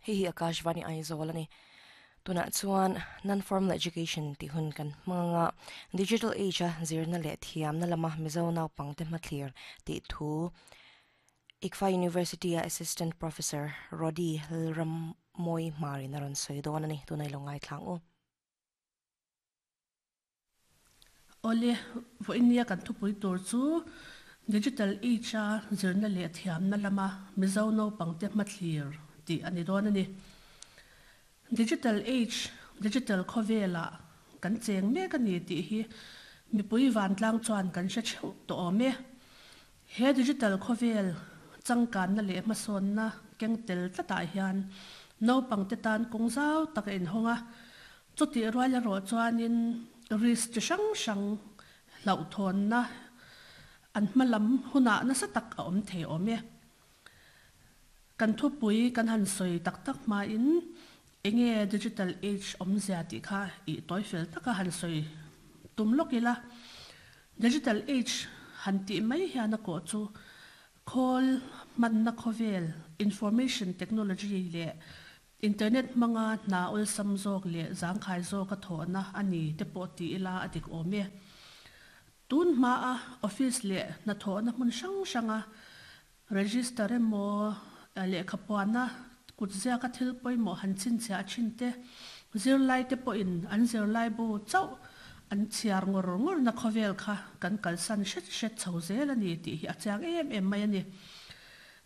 Hei hi Akashvani Aizawl a ni. Tunah chuan Non-Formal Education tih hun kan hmang a, Digital Age a zirna leh thiamna lama Mizo naupangte hmathlir tih thu ICFA University a Assistant Professor Rody Lalrammawi Hmarin a rawn sawi dawn a ni. Tunah i lo ngaithlang u. Awle, vawinia kan thupui tur chu Digital Age-a zirna leh thiamna lama Mizo naupangte hmathlir tih a ni dawn a ni. Digital Age, digital khawvelah kan cheng mek a ni tih hi mipui vantlang chuan kan hre theuh tawh awm e. He digital khawvel changkanna leh hmasawnna keng tel tlatah hian naupangte tan kawng zau tak a inhawng a, Chutih rual erawh chuanin risk chi hrang hrang hlauhthawnna an hma lam hunah nasa tak a awm thei awm e. Kan thupui kan han sawi tak tak hmain enge digital age awmzia tih kha ih tawi fel taka han sawi tum lawk ila. Digital age han tih mai hian a kawh chu khawl hmanna khawvel, information technology leh Internet hmanga hna awlsam zawk leh zangkhai zawka thawhna a ni te pawh ti ila a dik awm e. Tun hmaa office leh hnathawhna hmun hrang hranga register emaw lehkhapuana kutziaka thil pawimawh han chhinchhiah thin te, zirlaite pawhin an zirlaibu chauh an chhiar ngawr ngawrna khawvel kha kan kalsan hret hret chho zel a ni tih hi a chiang em em mai a ni.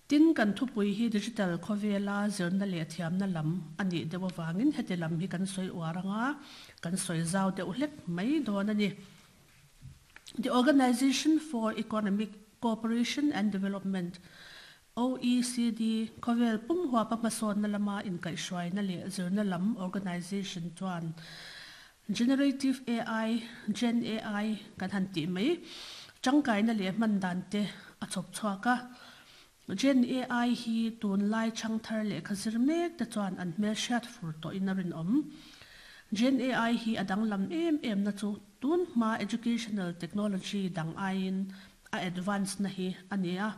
Tin, kan thupui hi digital khawvela zirna leh thiamna lam a nih deuh avangin heti lam hi kan sawi uar anga kan sawi zau deuh hlek mai dawn a ni. The Organization for Economic Cooperation and Development, OECD, khawvel pum huapa hmasawnna lama inkaihhruaina leh zirna lam organization chuan Generative AI, Gen AI, kan han tih mai, tangkaina leh hman dan te a chhawp chhuak a. Gen AI hi tunlai changthar lehkha zir mek te chuan an hmelhriat fur tawhin a rinawm. Gen AI hi a danglam em em na chu tun hma educational technology dang aiin a advance na hi a ni a.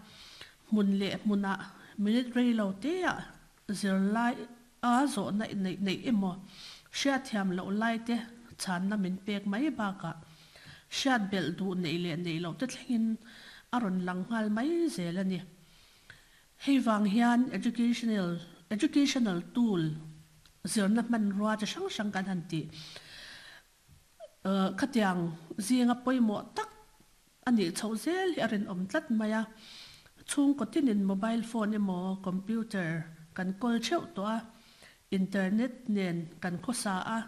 Hmun leh hmunah minute rei lo teah Zirlai a zawhna neih neih emaw, hriatthiam loh lai te chhanna min pek mai bakah hriat belh duh neih leh neih loh te thlengin a rawn lang nghal mai zel a ni. Hei vang hian educational educational tool zirna hmanrua chi hrang hrang kan han tih Khatiang zinga pawimawh tak a nih chhoh zel hi a rinawm tlat mai a. Chhungkaw tinin mobile phone emaw computer kan kawl theuh tawh a, internet nen kan khawsa a,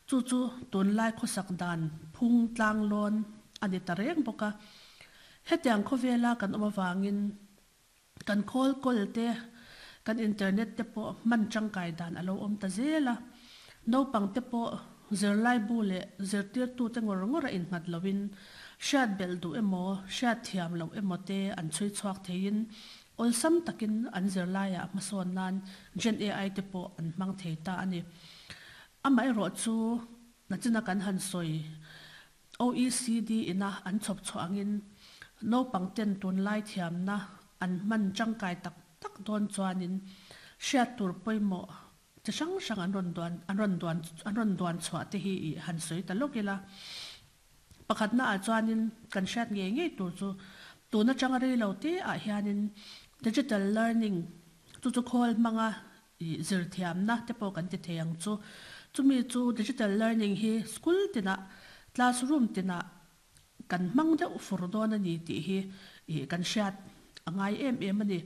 chu chu tunlai khawsak dan phung tlang lawn a ni ta reng bawk a. Hetiang khawvela kan awm avangin Kan khawl kawl te, kan internet te pawh hman tangkai dan a lo awm ta zel a. Naupang te pawh zirlaibu leh zirtirtute ngawr ngawr a innghat loin hriat belh duh emaw, hriat thiam loh emaw te an chhui chhuak theiin awlsam takin an zirlaiah hmasawn nan Gen AI te pawh an hmang thei ta a ni. Amaherawhchu, nachina kan han sawi OECD ina an chhawp chhuah angin naupang ten tunlai thiamna an hman tangkai tak tak dawn chuanin hriat tur pawimawh chi hrang hrang an rawn duan an rawn duan an rawn duan chhuah te hi ih han sawi ta lawk ila. Pakhatna ah chuanin kan hriat ngei ngei tur chu tun atanga rei lo te ah hianin digital learning chu chu khawl hmanga Ih zirthiamna te pawh kan ti thei ang chu. Chumi chu digital learning hi school tinah, classroom tinah kan hmang deuh fur dawn a ni tih hi ih kan hriat a ngai em em a ni.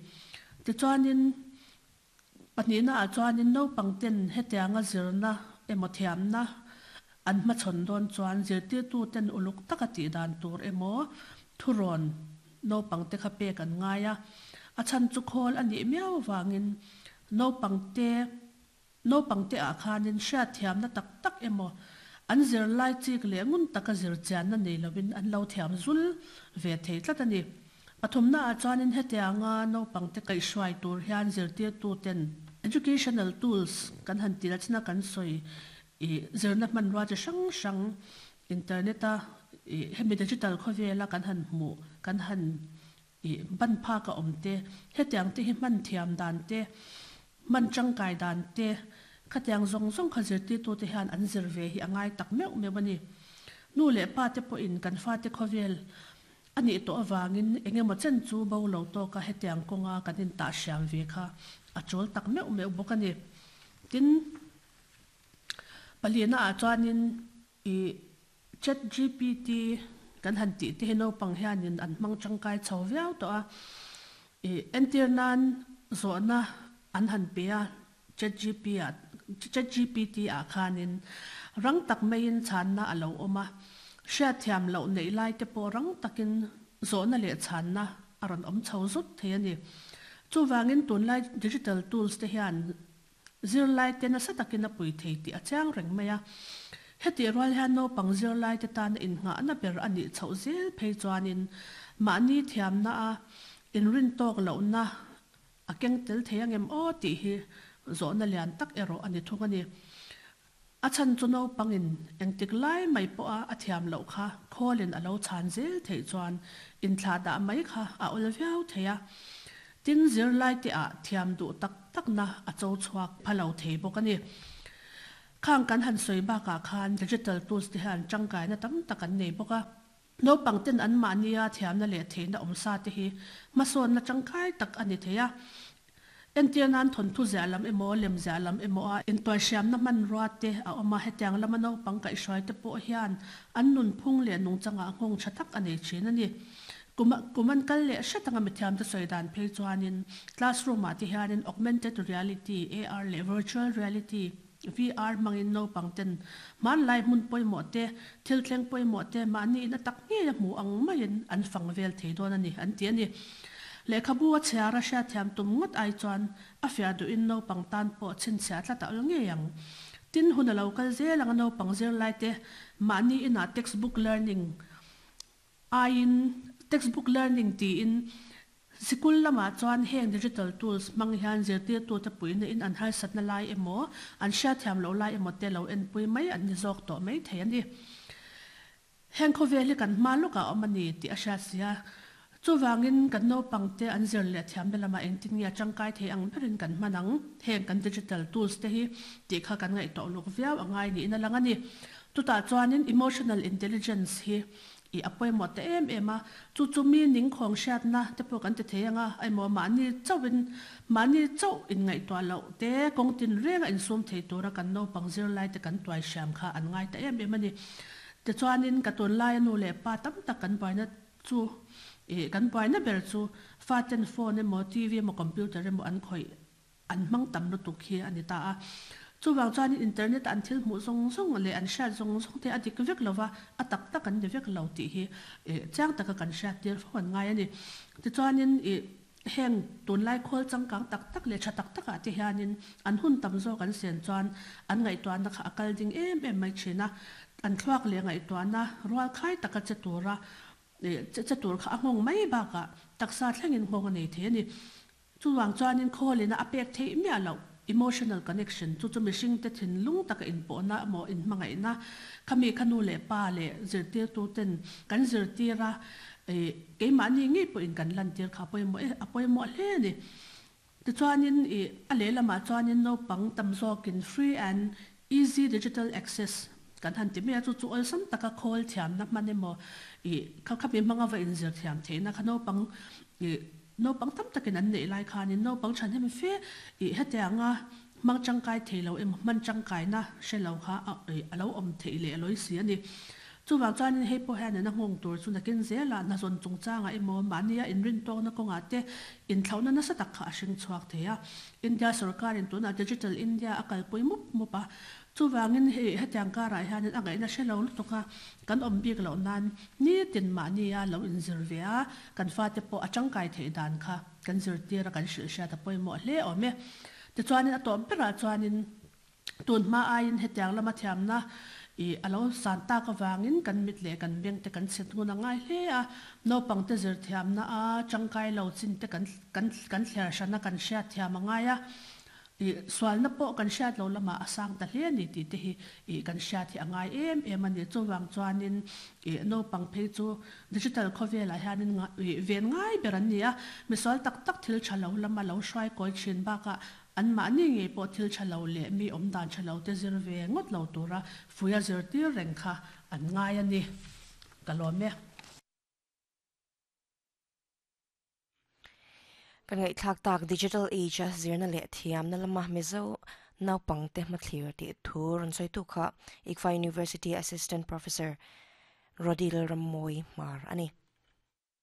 Tichuanin pahnihna ah chuanin naupang ten hetianga zirna emaw thiamna an hmachhawn dawn chuan zirtirtu ten uluk taka tih dan tur emaw thurawn Naupang te kha pek an ngai a, a chhan chu khawl a nih miau avangin naupang te naupang te ah khanin hriatthiamna tak tak emaw an zirlai chik leh ngun taka zir chianna nei lovin an lo thiam zul ve thei tlat a ni. Pathumna ah chuanin hetianga naupang te kaihhruai tur hian zirtirtu ten educational tools kan han tih lachna kan sawi ih zirna hmanrua chi hrang hrang Internet a ih hemi digital khawvela kan han hmuh, kan han ih ban phak a awm te, hetiang te hi hman thiam dan te, hman tangkai dan te khatiang zawng zawng kha zirtirtute hian an zir ve hi a ngai tak meuh meuh a ni. Nu leh pa te pawhin kan fate khawvel a nih tawh avangin eng emaw chen chu bo lo tawka hetiang kawnga kan intah hriam ve kha a tul tak meuh meuh bawk a ni. Tin, palina ah chuanin i Chat GPT kan han tih te hi naupang hianin an hmang tangkai chho viau tawh a. I entir nan zawhna an han pe a Chat GP ah Chat GPT ah khanin rang tak maiin chhanna a lo awm a. Hriatthiam loh neih lai te pawh rang takin zawhna leh chhanna a rawn awm chho zut thei a ni. Chuvangin tunlai digital tools te hian Zirlaite nasa takin a pui thei tih a chiang reng mai a. Hetih rual hian naupang zirlaite tana innghahna ber a nih chhoh zel phei chuanin mahni thiamna a inrintawk lohna a keng tel thei angem aw tih hi zawhna lian tak erawh a ni thung a ni. A chhan chu naupangin engtik lai mai pawha a thiam loh kha khawlin a lo chhan zel theih chuan inthlahdah mai kha a awl viau thei a. Tin, zirlaite ah thiam duh tak takna a cho chhuak pha lo thei bawk a ni. Khang kan han sawi bakah khan digital tools te hian tangkaina tam tak an nei bawk a. Naupang ten anmahnia thiamna leh theihna awmsa te hi hmasawnna tangkai tak a ni thei a. Entir nan thawnthu ziah lam emaw, lem ziah lam emaw a intuaihriamna hmanrua te a awm a, hetiang lama naupang kaihhruai te pawh hian an nunphung leh nungchangah nghawng tha tak a nei thin a ni. Kum kum an kal leh hret anga mithiamte sawi dan phei chuanin classroom ah te hianin augmented reality, AR, leh virtual reality, VR, hmangin naupang ten hmanlai hmun pawimawh te, thil thleng pawimawh te mahni in a tak ngei a hmu ang maiin an fang vel thei dawn a ni an ti a ni. Lehkhabu a chhiar a hriatthiam tum ngawt ai chuan a fiah duhin naupang tan pawh chhinchhiah tlat a awl ngei ang. Tin, hun a lo kal zel anga naupang zirlai te mahni inah textbook learning Aiin textbook learning tiin sikul lamah chuan heng digital tools hmang hian zirtirtute puihna in an harsatna lai emaw, an hriatthiam loh lai emaw te lo enpui mai an ni zawk tawh mai thei a ni. Heng khawvel hi kan hma lawkah a awm a ni tih a hriat si a. Chuvangin kan naupangte an zir leh thiamna lamah engtin nge a tangkai thei ang berin kan hman ang? Heng kan digital tools te hi tih kha kan ngaihtuah uluk viau a ngai niin a lang a ni. Chutah chuanin emotional intelligence hi I a pawimawh ta em em a, chu chu mi ningkhawng hriatna te pawh kan ti thei ang a, emaw mahni chauhin mahni chauh inngaihtuah loh te kawng tinrenga insum thei tura kan naupang zirlai te kan tuai hriam kha an ngai ta em em a ni. Tichuanin ka tunlaia nu leh pa tam tak kan buaina chu ih kan buaina ber chu faten phone emaw TV emaw computer emaw an khawih An hmang tam lutuk hi a ni ta a. Chuvang chuanin internet a an thil hmuh zawng zawng leh an hriat zawng zawng te a dik vek lova, a tak tak an ni vek lo tih hi chiang taka kan hriat tir fo an ngai a ni. Tichuanin ih heng tunlai khawl changkang tak tak leh tha tak takah te hianin an hun tam zawk an sen chuan an ngaihtuahna kha a kal ding em em mai thin a. An thluak leh ngaihtuahna rual khai taka che tura che tur kha a nghawng mai bakah taksa thlengin nghawng a nei thei a ni. Chuvang chuanin khawlina a pek theih miah loh emotional connection chu chu mihringte thinlung taka inpawhna emaw inhmangaihna khami kha nu leh pa leh zirtirtuten kan zirtir a, ih keimahni ngei pawhin kan lantir kha a pawimawh e a pawimawh hle a ni. Tichuanin ih a lehlamah chuanin naupang tam zawkin free and easy digital access kan han ti mai a, chu chu awlsam taka khawl thiamna hman emaw ih kha khami hmanga va inzir thiam theihna kha naupang ih Naupang tam takin an neih lai khanin naupang thahnem fe ih hetianga hmang tangkai thei lo emaw hman tangkaina hre lo kha a lo awm theih leh a lawi si a ni. Chuvang chuanin hei pawh hian a nghawng tur chu nakin zelah hnazawn chungchangah emaw mahnia inrintawkna kawngah te inthlauhna nasa tak kha a hring chhuak thei a. India sorkarin tunah Digital India a kalpui mup mup a, Chuvangin hei hetiang karah hianin a ngaihna hre lo lutuk a, kan awm bik loh nan nitin mahnia lo inzir ve a, kan fate pawh a tangkai theih dan kha kan zirtir a kan hrilh hriat a pawimawh hle awm e. Tichuanin a tawp berah chuanin tun hma aiin hetiang lama thiamna ih a lo san tak avangin kan mit leh kan beng te kan chhit ngun a ngai hle a, naupang te zir thiamna a tangkai lo chin te kan kan kan thliar hrana kan hriat thiam a ngai a. Ih sualna pawh kan hriat lo lamah a sang ta hle a ni tih te hi ih kan hriat hi a ngai em em a ni. Chuvang chuanin ih naupang phei chu digital khawvelah hianin ih ven ngai ber an ni a. Misual tak tak thil tha lo lama lo hruai kawi thin bakah anmahni ngei pawh thil tha lo leh mi awm dan tha lo te zir ve ngawt lo tura fuia zirtir reng kha an ngai a ni. Ka lawm e. Kan ngaihthlak tak Digital Age a zirna leh thiamna lama Mizo naupangte hmathlir tih thu rawn sawitu kha ICFA University Assistant Professor Rodil Rammawi Hmar a ni.